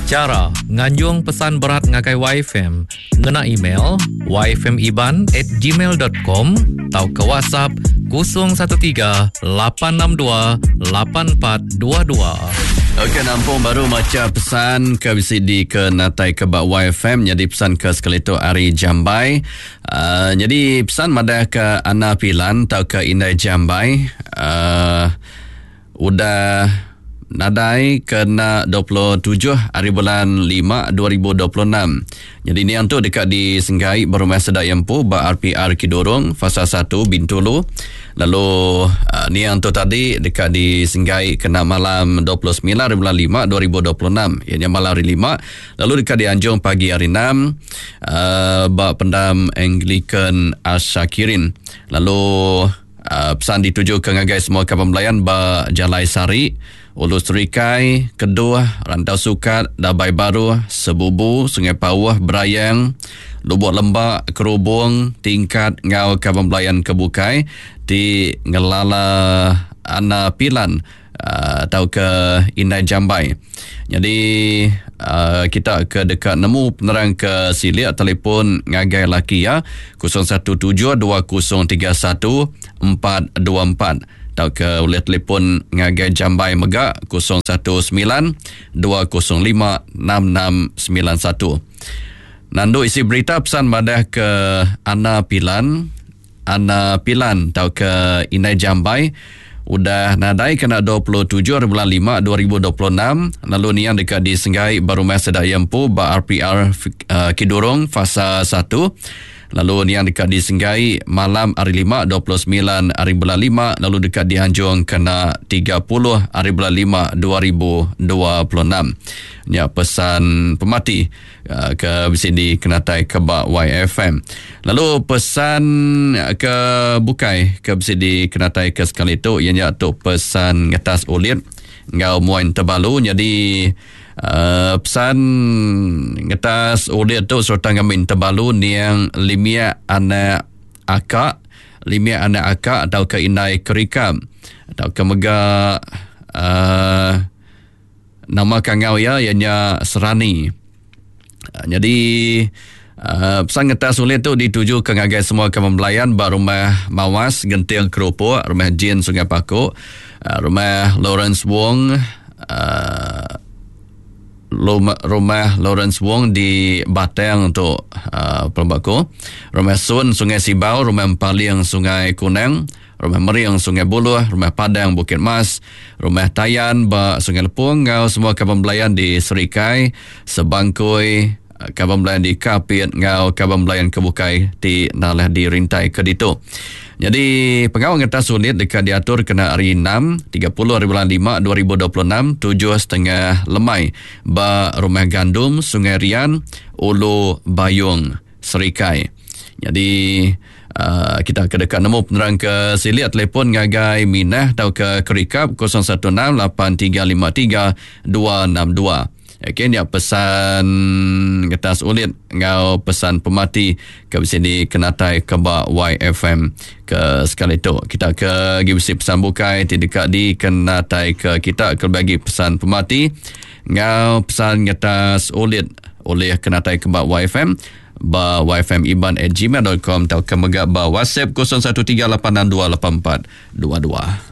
Chara nganjung pesan berat ngagai YFM ngena email yfmiban at gmail dot com tauka WhatsApp 013 862 8422. Okey nampung baru macha pesan ke bisi dikenatai ke ba YFM nyadi pesan ke sekali tu ari Jambai. Uh, nyadi pesan madah ke Ana Pilan tauka Indai Jambai uh, Udah nadai kena 27 hari bulan 5 2026. Nyadi niang tu deka disenggai ba Rumah Seda Iya Empu ba RPR Kidurong Fasa 1 Bintulu. Lalu uh, niang tu tadi deka disenggai kena malam 29 hari bulan 5 2026 iya nya malam hari 5 lalu deka dianjung pagi hari 6 uh, ba pendam Anglican Ashakirin. Lalu Pesan ditujuka ngagai semua kaban belayan ba Jalai Sari, Ulu Serikai, Keduh, Rantau Sukat, Dabai Baruh, Sebubu, Sungai Pauh, Berayang, Lubok Lemba, Kerubong, Tingkat enggau kaban belayan ke bukai ti ngelala Ana Pilan tauka Indai Jambai. Nyadi kita ke deka nemu penerang ke silik telefon ngagai laki iya 017 2031 424 tauka ulih telefon ngagai Jambai mega 019 205 6691. Nandu isi berita pesan madah ke Ana Pilan Ana Pilan tauka Indai Jambai udah nadai kena 27 hari bulan 5 2026 lalu niang deka disenggai ba rumah sida iya empu ba RPR eh, Kidurong Fasa 1 lalu niang deka disenggai malam hari 5 29 hari bulan 5 lalu deka dianjung kena 30 hari bulan 5 2026 nya pesan pemati Ah, ke bisi dikenatai ke ba YFM. Lalu pesan ke bukai ke bisi dikenatai ke sekali tu iya nya tu pesan ngetas ulit enggau muai tebalu jadi uh, pesan ngetas ulit tu sereta ngambi tebalu niang limia anak akak limia anak akak atau ke indai kerikam atau ke mega uh, Nama kangau iya iya nya Serani. Ah, nyadi uh, pesan ngetas ulit tu ditujuka ngagai semua kaban belayan ba rumah Mawas Genting Kerupuk, rumah Jin Sungai Paku, uh, rumah Lawrence Wong uh, rumah Lawrence Wong di Batang tu uh, pelaba ku. Rumah Sun Sungai Sibau, rumah Empaling Sungai Kunang, Rumah Mering Sungai Buluh, Rumah Padang Bukit Mas, Rumah Tayan ba Sungai Lepung enggau semua kaban belayan di Serikai, Sebangkoi, kaban belayan di Kapit enggau kaban belayan ke bukai ti nalah dirintai ke ditu. Nyadi pengawa ngetas unit deka diatur kena hari 6, 30 hari bulan 5 2026, 7.30 lemai ba Rumah Gandum, Sungai Rian, Ulu Bayung, Serikai. Nyadi uh, kita ke deka nemu penerang ke silik telefon ngagai Minah tauka Kerikap 0168353262. Okey nya pesan ngetas ulit enggau pesan pemati ke bisi dikenatai ke ba YFM ke sekali tu. Kita ke agi bisi pesan bukai ti deka dikenatai ke kita ke bagi pesan pemati enggau pesan ngetas ulit ulih kenatai ke ba YFM ba yfmiban@gmail.com tauka mega ba WhatsApp 0138628422.